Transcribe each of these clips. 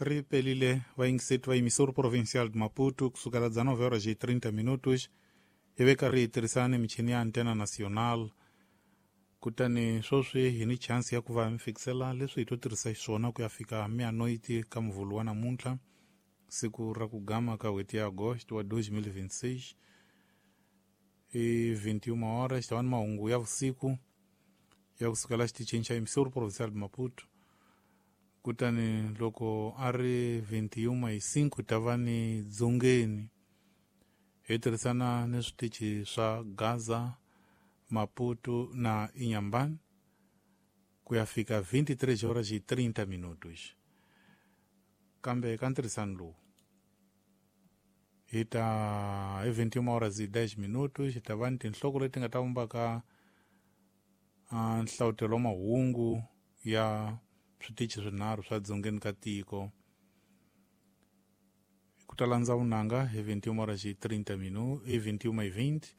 Ri pelile vayingiseti va emissora provincial de Maputo kusukela 19 horas e 30 minutos hi ve karhi hi tirhisana ni michini ya antena nacional. Kutani sweswi hi ni chance ya ku va mi fikisela leswi hi to tirhisa xiswona ku ya fika meia-noite ka muvhulu wa namuntlha, siku ra ku gama ka n'hweti ya Agosto wa 2026. I 21 horas ta va ni mahungu ya vusiku ya kusukela xitichini xa emissora provincial de Maputo. Kutani loko a ri 21 hi 5 ta va ni dzongeni hi tirhisana ni switichi swa Gaza, Maputo na Inhambane ku ya fika 23 horas e 30 minutos. Kambe ka ntirhisano lowu hi ta hi 21 horas e 10 minutos hi ta va ni tinhloko leti nga ta vumbaka nhlavutelo wa mahungu ya switichi swinharhu swa dzongeni ka tiko. Ku ta landza vunanga hi 21 horas e 30 minutos, hi 21 e 20.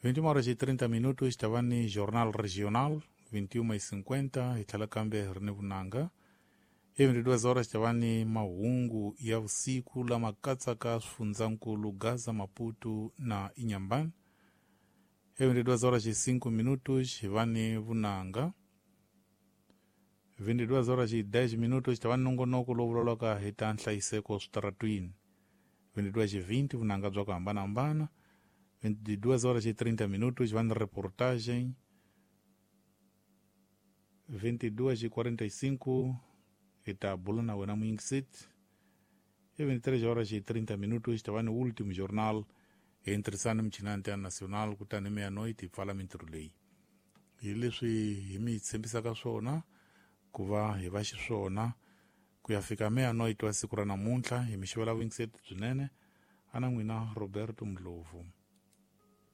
21 horas e 30 minutos ta va ni jornal regional, 21 e 50 hi tlhela kambe hi ri ni vunanga. Hi 22 horas ta va ni mahungu ya vusiku lama katsaka swifundzankulu Gaza, Maputo na Inhambane. Hi 22 horas e 5 minutos hi va ni vunanga. 22 horas e 10 minutos ta va ni nongonoko lowu vulavulaka hi ta nhlayiseko switaratwini. 22 e 20 vunanga bya ku hambanahambana. 22 horas e 30 minutos va ni reportagem. 22 e 45 hi ta bula na wena muyingiseti. Hi 23 horas e 30 minutos ta va ni último jornal hi ntirhisano michini ya antena nacional. Kutani meia-noite hi pfala mintirho leyi hi leswi hi mi tshembisaka swona ku va hi va xiswona ku ya fika meia-noite wa siku ra namuntlha. Hi mi xivela vuyingiseti byinene, ana n'wina Roberto Ndlovu.